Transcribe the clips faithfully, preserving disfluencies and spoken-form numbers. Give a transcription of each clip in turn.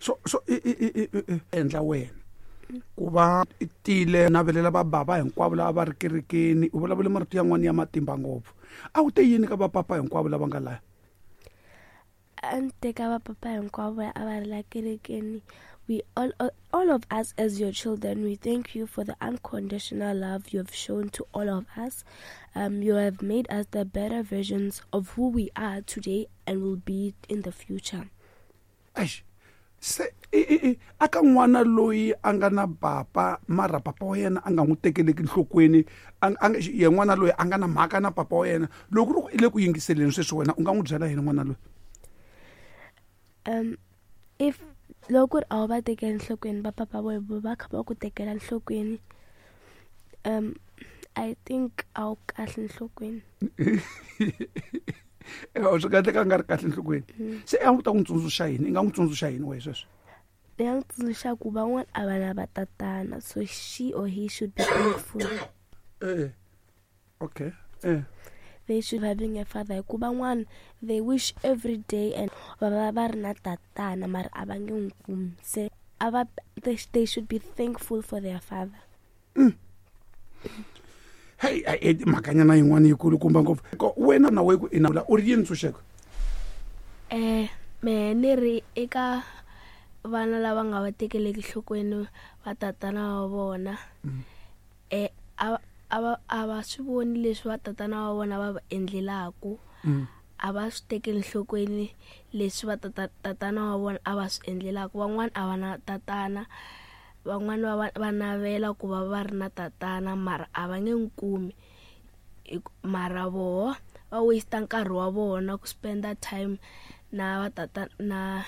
So so i i i i endla wena ku va i tile navelela vabava hinkwavo lava va ri kerekeni, u vulavule marito yan'wana ya matimba ngopfu. A wu te yini ka vapapa hinkwavo lava nga laya? A ni teka vapapa hinkwavo a va ri la kerekeni. We all, all of us as your children, we thank you for the unconditional love you have shown to all of us. Um, you have made us the better versions of who we are today and will be in the future. Eish, se i i i aka n'wana loyi a nga na papa mara papa wa yena a nga n'wi tekeleki nhlokweni, a a ye n'wana loyi a nga na mhaka na papa wa yena, loko ku ri i le ku yingiseleni sweswi, wena u nga n'wi byela yini n'wana loyi? Um if loko ku ri a wu va tekeli nhlokweni va papa vo va kha va ku tekela nhlokweni, um I think a wu kahle nhlokweni. Swi kahle ka nga ri kahle nhlokweni. Se a wu ta n'wi tsundzuxa yini? I nga n'wi tsundzuxa yini wehe sweswi? Ni nga n'wi tsundzuxa ku van'wana a va na va tatana, so she or he should be thankful. Eh, okay, eh. They should having a father, hikuva van'wana they wish every day and va va va ri na tatana mara a va nge n'wi kumi, se a va they, they should be thankful for their father. Mm. Hey, hey, mhakanyana yin'wana yikulukumba ngopfu. Wena na we ku ina u ri yini, Ntshunxeko? Eh mehe ni ri eka vana lava nga va tekeleki nhlokweni va tatana wa vona, eh a a va a va swi voni leswi va tatana wa vona va va endlelaku, a va swi tekeli nhlokweni leswi va tata tatana wa vona a va swi endlelaku. Van'wana a va na tatana, van'wana va va navela ku va va ri na tatana mara a va nge n'wi kumi, mara voho va waste nkarhi wa vona ku spenda time na va tata na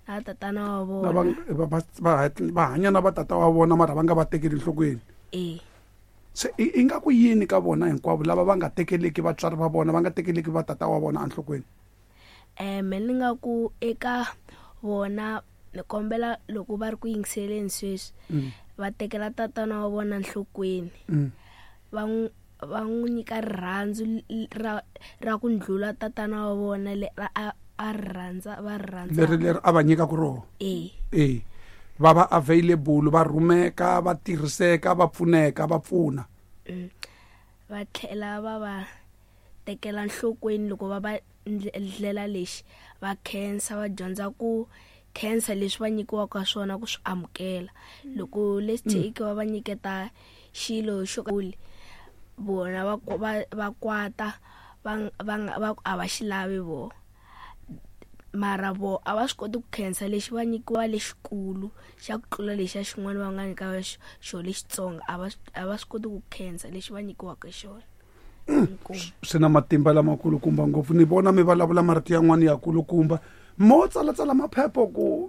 na tatana wa vona. Va va va hanya na va tata wa vona mara va nga va tekeli nhlokweni. Eh. Se i nga ku yini ka vona hinkwavo lava va nga tekeleki vatswari va vona, va nga tekeleki va tata wa vona enhlokweni? Eh me ni nga ku eka vona, ni kombela loko va ri ku yingiseleni sweswi, va tekela tatana wa vona nhlokweni, va n'wi va n'wi nyika rirhandzu ra ra ku ndlula tatana wa vona le a a ri rhandza va ri rhandza leri leri a va nyikaku rona. Eh. Eh, va va available, va rhumeka, va tirhiseka, va pfuneka, va pfuna. Va tlhela va va tekela nhlokweni loko va va ndlela lexi, va khensa, va dyondza ku khensa leswi va nyikiwaka swona ku swi amukela. Loko let's take va va nyiketa xilo xo kule, vona va va va kwata, va va va a va xi lavi vo, mara vo a va swi koti ku khensa lexi va nyikiwa lexikulu xa ku tlula lexiya xin'wana va nga nyika xo lexitsongo, a va a va swi koti ku khensa lexi va nyikiwaka xona. Swi na matimba lamakulukumba ngopfu. Ni vona mi vulavula marito yan'wana ya kulukumba, mo tsalatsala maphepha ku